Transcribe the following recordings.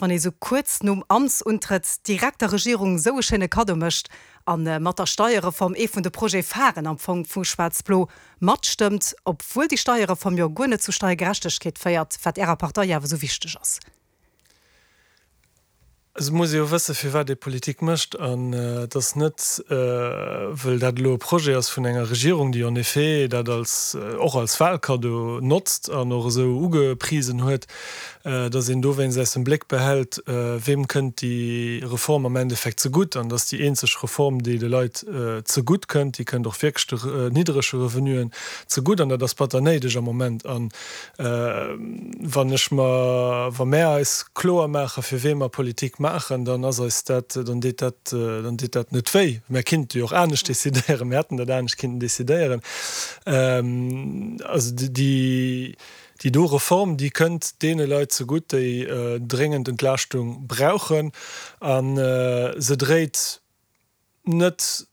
Wann ee sou kuerz nom Amtsuntrëtt direkt der Regierung sou e schéine Kaddo mécht a mat der Steierreform ee vun de Projet-pharen am Fong vu Schwaarz-Blo matstëmmt, obwuel déi Steierreform jo guer net zu Steiergerechtegkeet féiert, wat Ärer Partei jo awer sou wichteg ass. Et muss ee jo wësse firwat ee Politik mécht an et ass net wëll dat elo e Projet ass vun enger Regierung, déi en effet dat als och als Wahlkaddo notzt an och esou ugeprisen huet, dass een dowéinst aus dem Bléck behält, weem kënnt déi Reform am Endeffekt zegutt. An dass déi eenzeg Reform, déi de Leit zegutt kënnt, déi kënnt och wierklech de nidderege Revenuen zegutt. An dat ass batter néideg am Moment. A wann ech mer, wa mär eis kloer maachen, fir wee mer Politik maachen, dann ass eis dat, dann deet dat, dann deet dat net wéi. Mär kinnte jo och anescht decidéieren, mär hätten dat anescht kinnten decidéieren. Also déi. Déi do Reform, déi kënnt deene Leit zegutt, déi dréngend Entlaaschtung brauchen, a se dréit net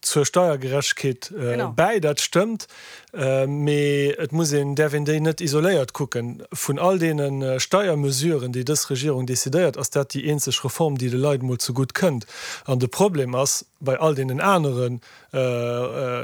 zur Steiergerechtegkeet bäi, dat stëmmt, mee et muss een, däerf een déi net isoléiert kucken. Vun all deene Steiermesuren, déi dës Regierung decidéiert, ass dat déi eenzeg Reform, déi de Leit emol zegutt kënnt. An de Problem ass bei all deenen anere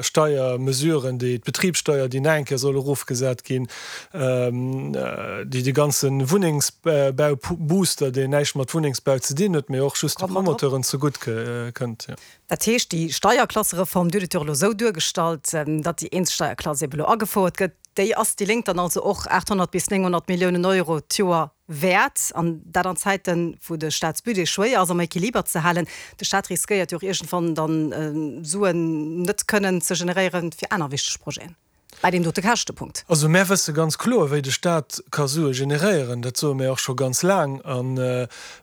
Steiermesuren, déi d'Betribssteuer, déi nach eng Kéier soll erofgesat ginn, déi de ganze Wunnengsbaubooster, deen näischt mat Wunnengsbau ze dinn huet, mee och just de Promoteuren zegutt kënnt. Dat heescht, déi Steierklassereform, Dir hutt et jo och elo esou duergestallt, datt déi eenz Steierklass ebe elo agefouert gëtt, déi ass déi Lénk dann also och 800 bis 900 Milliounen Euro d'Joer wäert, an dat an Zäiten, wou de Staatsbudget schwéier ass am Equiliber ze halen. De Staat riskéiert jo och iergendwann dann Suen net kënnen ze generéieren fir aner wichteg Projeten bäi deem dote Käschtepunkt. Also mär wësse ganz kloer, wéi de Staat ka Sue generéieren. Dat soe mär och scho ganz laang. A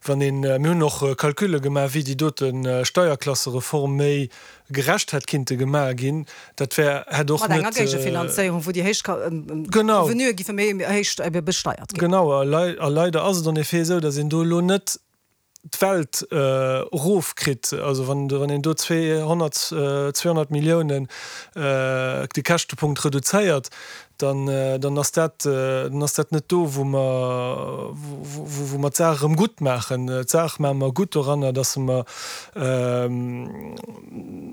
wann een, mir hunn och Calculle gemaach, wéi déi dote Steierklassereform méi gerecht hätt kinnte gemaach ginn, dat wär, hätt och net. Mat enger Géigefinanzéierung, wou déi héich Revenuë giffe méi héich besteiert ginn. Genau, a leider ass et en effet esou, datt een do elo net d'Welt erofkritt. Also wann een do 200, 200 Milliounen de Käschtepunkt reduzéiert, dann, dann ass dat, dann ass dat net do, wou mer, wou mer d'Saach erëm gutt maachen. D'Saach maache mer gutt doranner, dass mer,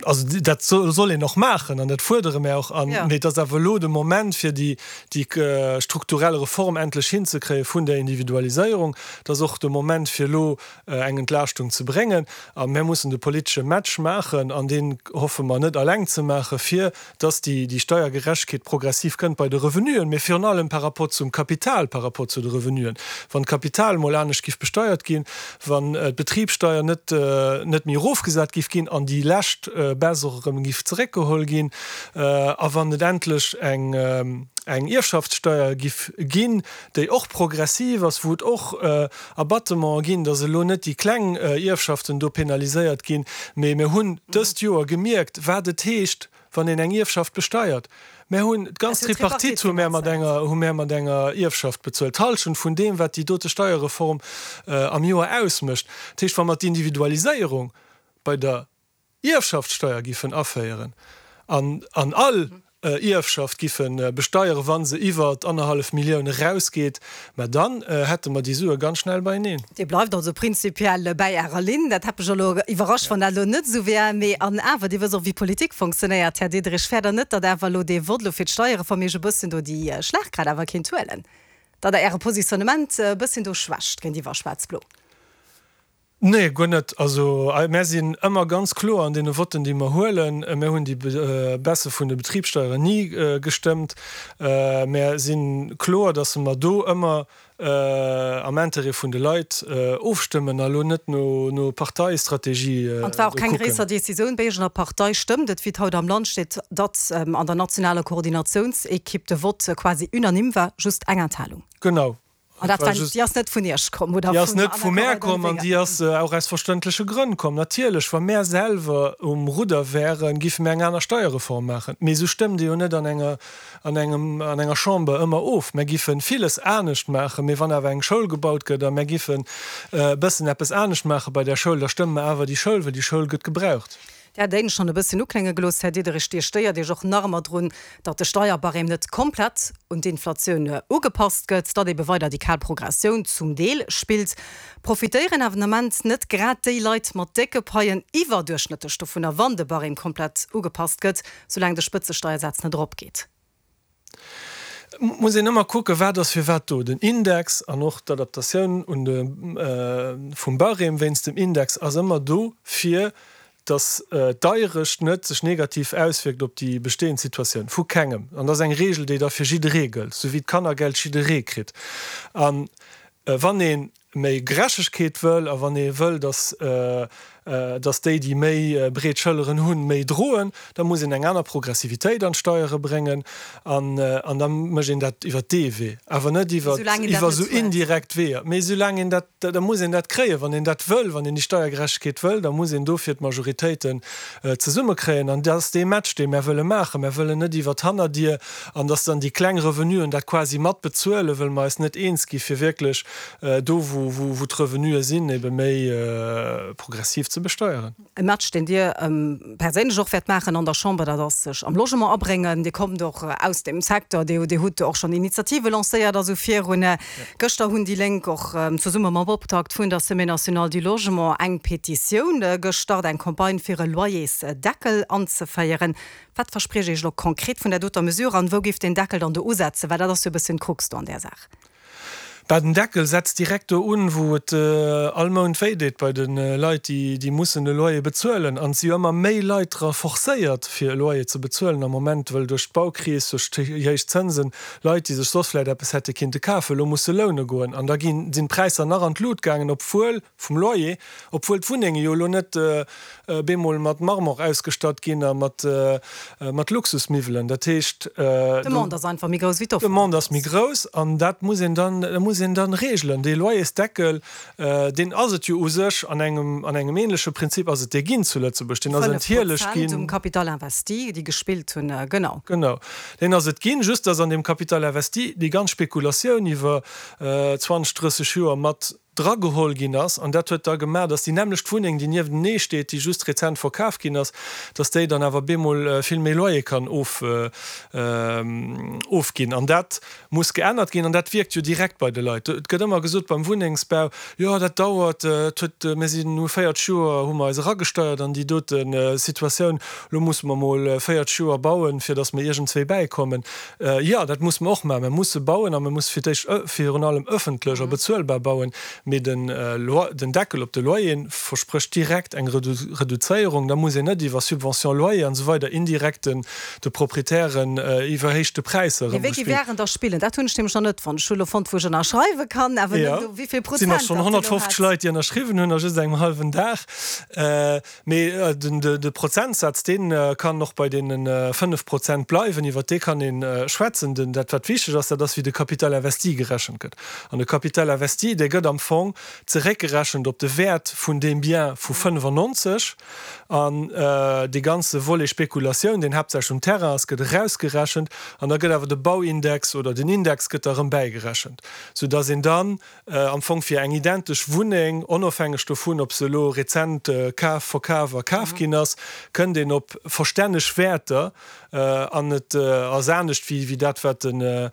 also dat soll een och maachen an dat fuerdere mer och an, mee et ass awer elo de Moment, fir déi, déi strukturell Reform endlech hinzekréie vun der Individualiséierung. Et ass och de Moment, fir elo eng Entlaaschtung ze bréngen. A mir mussen de politesche Match maachen, an deen hoffe mer net alleng ze maachen, fir dass déi Steiergerechtegkeet progressiv kënnt bei de Revenuen, mee virun allem par rapport zum Kapital, par rapport zu de Revenuen. Wann d'Kapital emol anescht giff besteiert ginn, wann d'Betribssteier net net méi erofgesat giff ginn an déi lescht Baisse och erëm giff zeréckgeholl ginn, a wann et endlech eng eng Ierfschaftssteier giff ginn, déi och progressiv ass, wou et och Abattementen ginn, dass elo net déi kleng Ierfschaften do penaliséiert ginn, mee mir hunn dëst Joer gemierkt, wat et heescht, wann een eng Ierfschaft besteiert. Mär hunn d'ganz Tripartite hu mär mat enger, hu mär mat enger Ierfschaft bezuelt, d'Hallschent vun deem, wat déi dote Steierreform am Joer ausmécht. Dat heescht, wa mer d'Individualiséierung bei der Ierfschaftssteier giffen aféieren an an all Ierfschaft giffe besteieren, wa se iwwer annerhallef Millioun erausgeet, mä dann hätte mer déi Sue ganz schnell beieneen. Dir bleift also prinzipiell bäi Ärer Linn. Dat hätt mech elo iwwerrascht, wann dat elo net esou wär. Mee an awer, Dir wësst och, wéi Politik fonctionnéiert, Här Diderich. Fäert Der net, datt awer elo dee Vott elo fir d'Steierreform Iech e bësschen do déi Schlagkraaft awer kéint huelen, datt Der Äre Positionnement e bësschen do schwächt géintiwwer Schwaarz-Blo? Nee, guer net. Also mär sinn ëmmer ganz kloer an deene Votten, déi mer huelen. Mär hunn déi Baisse vun de Betribssteieren ni gestëmmt. Mär si kloer, datt mer do ëmmer am Intérêt vun de Leit ofstëmmen a lo net no Parteistrategie do kucken. An et war och keng gréisser Decisioun. Bei iergendenger Partei stëmmt et, wéi et haut am Land steet, datt an der nationaler Koordinatiounsekipp de Vott quasi unanime war, just eng Enthalung. Genau. An dat war, déi ass net vun Iech komm, oder? Déi ass net vu mär komm an déi ass och aus verständleche Grënn komm. Natierlech, wa mär selwer um Rudder wären, géife mär eng aner Steierreform maachen. Mee esou stëmmt ee jo net an enger, an engem, an enger Chamber ëmmer of. Mär géife villes anescht maachen, mee wann awer eng Schoul gebaut gëtt a mär géifen e bëssen eppes anescht maache bei där Schoul, da stëmme mer awer déi Schoul, well déi Schoul gëtt gebraucht. Dir hat et schonn e bësschen uklénge gelooss, Här Diderich, Dir stéiert Iech och nach ëmmer drun, datt de Steierbarème net komplett un d'Inflatioun ugepasst gëtt, datt ebe weider déi kal Progressioun zum Deel spillt. Profitéieren awer den Ament net grad déi Leit mat décke Paien iwwerduerchschnëttlech dovunner, wann de Barème komplett ugepasst gëtt, soulaang de Spëtzesteiersaz net eropgeet? Et muss een ëmmer kucken, wat ass fir wat do. Den Index an och d'Adaptatioun un de vum Barème wéinst dem Index ass ëmmer do, fir datt d'Deierecht net sech negativ auswierkt op déi bestehend Situatioun vu kengem. An dat ass eng Regel, déi da fir jidderee gëllt, esou wéi d'Kannergeld jidderee kritt. A wann ee méi Gerechtegkeet wëll a wann ee wëll, datt datt déi, déi méi breet Schëlleren hunn, méi droen, da muss een eng aner Progressivitéit an d'Steiere bréngen an an da mécht een dat iwwert dee Wee, awer net iwwer iwwer esou indirekt Weeër. Mee soulaang een dat, da muss een dat kréien, wann een dat wëll, wann een déi Steiergerechtegkeet wëll, da muss een dofir d'Majoritéiten zesummekréien an dat ass dee Match, dee mär wëlle maachen. Mär wëllen net iwwer d'Hannerdier an datt dann déi kleng Revenuen dat quasi mat bezuelen, wëll mer eis net eens gi fir wierklech do wou d'Revenue sinn, ebe méi progressiv ze besteieren. E Match, deen Dir perséinlech och wäert maachen an der Chamber, dat ass sech am Logement abréngen. Dir kommt och aus deem Secteur, Dir hutt och schonn Initiative lancéiert a sou virun. Gëschter hunn déi Lénk och zesumme mam Optakt vun der Semaine nationale du logement eng Petitioun gestart, eng Campagne fir e Loyersdeckel anzeféieren. Wat verspriecht Iech elo konkret vun där doter Mesure an wou géif deen Deckel dann do usetzen? Well dat ass jo e bësschen d'Krux do an där Saach. Bah, den Deckel setzt direkt do un, wou et all Mount wéi deet, bei de Leit, déi mussen e Loyer bezuelen. An et si jo ëmmer méi Leit dra forcéiert, fir e Loyer ze bezuelen am Moment, wëll duerch d'Baukris, duerch déi héich Zënsen, Leit, déi sech soss vläicht eppes hätte kinnte kafen, elo musse loune goen. An da ginn, sinn d'Präisser nach an d'Lut gaangen, obwuel, vum Loyer, obwuel d'Wunnenge jo elo net bemol mat Marmor ausgestatt ginn a mat mat Luxusmiwwelen. Dat heescht, D'Demande ass einfach méi grouss wéi d'Offre. D'Demande ass méi grouss an dat muss een dann, dat muss een dann regelen. Dee Loyersdeckel, deen ass et jo u sech an engem, an engem ähnleche Prinzip ass et dee ginn zu Lëtzebuerg. Deen ass enthieleg ginn. 5 Prozent um Capital investi, déi gespillt hunn, genau. Genau, deen ass et ginn, just dass an deem Capital investi déi ganz Spekulatioun iwwer 20, 30 Joer mat drageholl ginn ass, an dat huet da gemaach, dass déi nämmlecht Wunneng, déi niewtenee steet, déi just rezent verkaf ginn ass, dass déi dann awer bemol vill méi Loyer kann ofginn. An dat muss geännert ginn, an dat wierkt jo direkt bei de Leit. Et gëtt ëmmer gesot beim Wunnengsbau, jo dat dauert, et huet, mir sinn, hu 40 Joer hu mer eis eragesteiert an déi dote Situatioun, elo musse mer mol 40 Joer bauen, fir dass mer iergendzwéi bäikommen. Jo, dat musse mer och maachen. Mer musse bauen a mer musse fir d'éischt virun allem ëffentlech a bezuelbar bauen. Mee den den Deckel op de Loyeren versprécht direkt eng Reduzéierung. Da muss een net iwwer Subvention loyer an esou weider indirekt den de Proprietären iwwerhéichte Präisser erëm. Mee wéi wären da spillen? Dat hunn ech nämlech nach net fonnt. Ech hu elo fonnt, wou ech ënnerschreiwe kann, awer net do, wéi vill Prozent dat elo hat. Et sinn och schonn 150 Leit, déi ënnerschriwwen hunn a just engem hallwen Dag. Mee de Prozentsaz, dee kann och bei deene 5 Prozent bleiwen, iwwert dee kann ee schwätzen. Dat wat wichteg ass, dat ass wéi de Capital investi gerechent gëtt. An de Capital investi, dee gëtt am Fong zeréckgerechent op de Wäert vun deem Bien vu 95. An dee ganze Volet Spekulatioun, deen haaptsächlech um Terrain ass, gëtt erausgerechent. An da gëtt awer de Bauindex oder den Index gëtt da erëm bäigerechent, soudass een dann Am Fong fir eng identesch Wunneng, onofhängeg dovun, ob se elo rezent kaf, verkaf a kaf ginn ass, kënnt een op verstänneg Wäerter. An et ass anescht wéi dat, wat de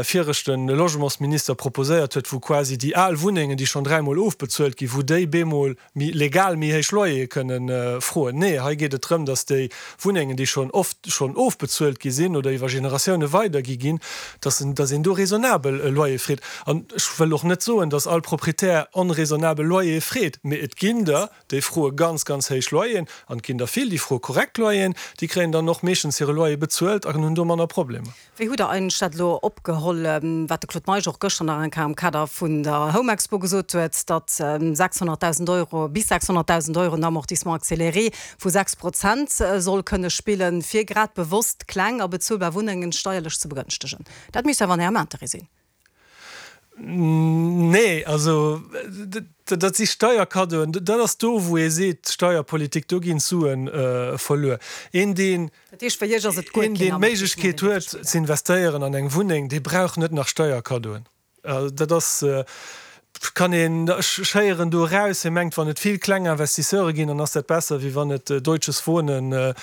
viregte Logementsminister proposéiert huet, wou quasi déi al Wunnengen, déi schonn dräimol ofbezuelt ginn, wou déi bemol méi legal méi héich Loyere kënnen froen. Nee, hei geet et drëm, dass déi Wunnengen, déi schonn oft schonn ofbezuelt gi sinn oder iwwer Generatioune weidergi ginn, dass en, dass een do raisonnabel Loyer freet. An ech wëll och net soen, dass all Proprietär onraisonnabel Loyere freet, mee et ginn der, déi froe ganz, ganz héich Loyeren an et ginn der vill, déi froe korrekt Loyeren, déi kréien dann och meeschtens hire Loyer bezuelt an hunn do manner Problemer. Wéi hutt Der eigentlech dat elo opgeholl, wat de Claude Meisch och gëschter nach eng Kéier am Kader vun der Home Expo gesot huet, datt 600.000 Euro, bis 600.000 Euro en Amortissement accéléré vu 6 Prozent soll kënne spillen, fir grad bewosst kleng a bezuelbar Wunnengen steierlech ze begënschtegen? Dat misst awer an Ärem Interêt sinn. Nee, also dat si Steierkaddoen. Dat ass do, wou ee seet, Steierpolitik, do ginn d'Sue verluer. Een, deen Dat heescht, fir Iech ass et guer keen deen d'Méiglechkeet huet ze investéieren an eng Wunneng, dee brauch net nach Steierkaddoen. Dat ass. Kann een, ech héieren do eraus, hie mengt, wann et vill kleng Investisseure ginn, dann ass dat besser, wéi wann et Deutsches Wohnen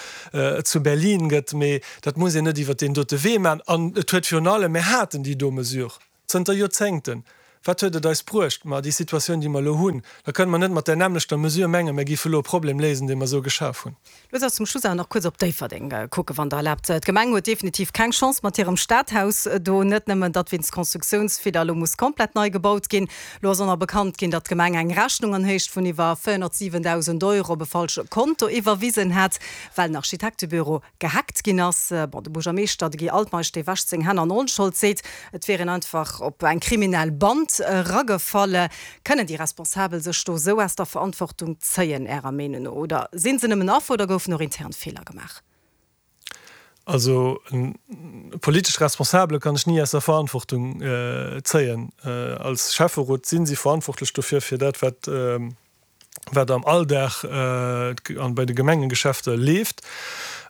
zu Berlin gëtt. Mee dat muss een net iwwert deen dote Wee maachen. An et huet virun allem, mir haten déi do Mesure zënter Joerzéngten, wat huet et eis bruecht? Ma déi Situatioun, déi mer elo hunn. Da kënne mer net mat där nämmlechter Mesure mengen, mir géife elo e Problem léisen, dee mer esou geschaf hunn. Looss eis zum Schluss awer nach kuerz op Déifferdeng kucken, wann Der erlaabt. D'Gemeng huet definitiv keng Chance mat hirem Stadhaus do. Net nëmmen, datt wéinst Constructiounsfeeler elo muss komplett nei gebaut ginn. Elo ass och nach bekannt ginn, datt d'Gemeng eng Rechnung an Héicht vun iwwer 407.000 Euro op e falsche Konto iwwerwisen hat, well den Architektebüro gehackt ginn ass. Bon, de Buergermeeschter, de Guy Altmeisch, dee wäscht seng Hänn an Onschold, seet, et wier een einfach op eng kriminell Band eragefall. Kënnen déi Responsabel sech do esou aus der Verantwortung zéien, Ärer Meenung no? Oder si se nëmmen Affer oder goufen och intern Feeler gemaach? Also e politesch Responsabele kann ech ni aus der Verantwortung zéien. Als Schäfferot si si verantwortlech dofir, fir dat wat wat am Alldag an bei de Gemengegeschäfter leeft.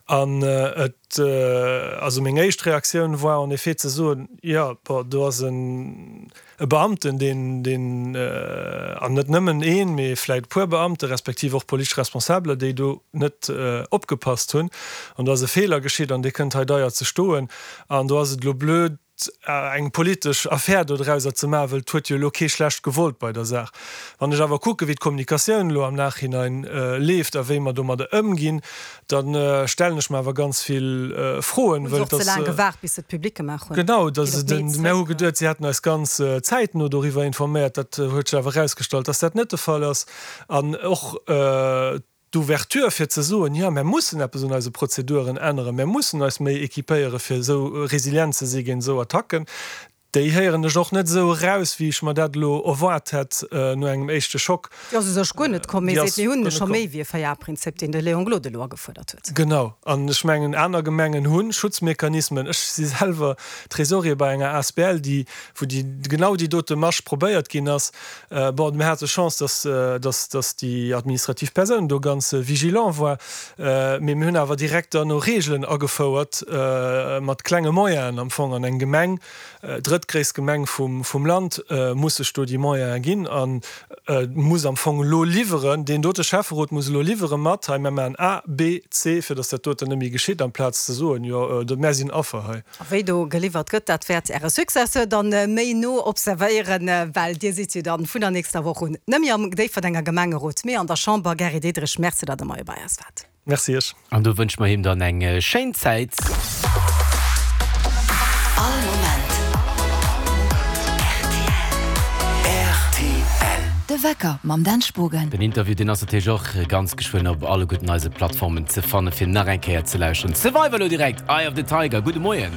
An et, also meng éischt Reaktioun war en effet ze soen, jo, bon, do ass en e Beamten, deen, deen, an net nëmmen een, mee vläicht e puer Beamte respektiv och politesch Responsabeler, déi do net opgepasst hunn. An do ass e Feeler geschitt an dee kënnt hei deier ze stoen. An do ass et elo blöd, eng politesch Affär dodrauser ze maachen, well et huet jo elo kee schlecht gewollt bei der Saach. Wann ech awer kucke wéi d'Kommunikatioun elo am Nachhinein leeft a wéi mer domadder ëmginn, da stellen ech mer awer ganz vill Froen, Hunn se well och ze laang gewaart, bis se et public gemaach hunn? Genau, dass et en, mär hu geduet, si hätten eis ganz zäitno doriwwer informéiert, dat huet sech awer erausgestallt, dass dat net de Fall ass. An och d'Ouverture fir ze soen, jo, mär mussen eppes un eise Prozeduren änneren, mär mussen eis méi équipéiere fir esou resilient ze si géint esou Attacken, déi héieren ech och net esou eraus, wéi ech mer dat elo erwaart hätt no engem éischte Schock. Déi ass u sech guer net komm. Mee seet, mir hunn scho méi wéi e Véier-A-Prinzip, deen de Léon Gloden elo agefuerdert huet. Genau. An ech mengen, aner Gemengen hu Schutzmechanismen. Ech si selwer Trésorier bei enger asbl, déi, wou déi, genau déi dote Masch probéiert ginn ass. Bon, mir hate Chance, dass, dass, dass déi administrativ Persoun do ganz vigilant war. Mee mir hunn awer direkt dann och Reegelen agefouert, mat klenge Moyenen am Fong. An eng Gemeng, drëttgréisst Gemeng vum, vum Land, muss sech do déi Moyene ginn a muss am Fong elo liwweren, deen dote Schäfferot muss elo liwwere mat, hei, mir maachen A, B, C, fir dass dat doten net méi geschitt, amplaz ze soen, jo, mär sinn Affer hei. A wéi do geliwwert gëtt, dat wäert Äre Successeur dann méi no observéieren, well Dir sidd jo dann vun der nächster Woch un net méi am Déifferdenger Gemengerot, mee an der Chamber. Gary Diderich, Merci, datt Der Moie bei eis waart. Merci Iech. An do wënsche mer him dann eng schéin Zäit. All Moment rtl. De Wecker mam Dan Spogen. Den Interview deen ass natierlech och ganz geschwënn op alleguerten eise Plattformen ze fannen, fir nach eng Kéier ze lauschteren. Survivor elo direkt, Eye of the Tiger. Gudde Moien.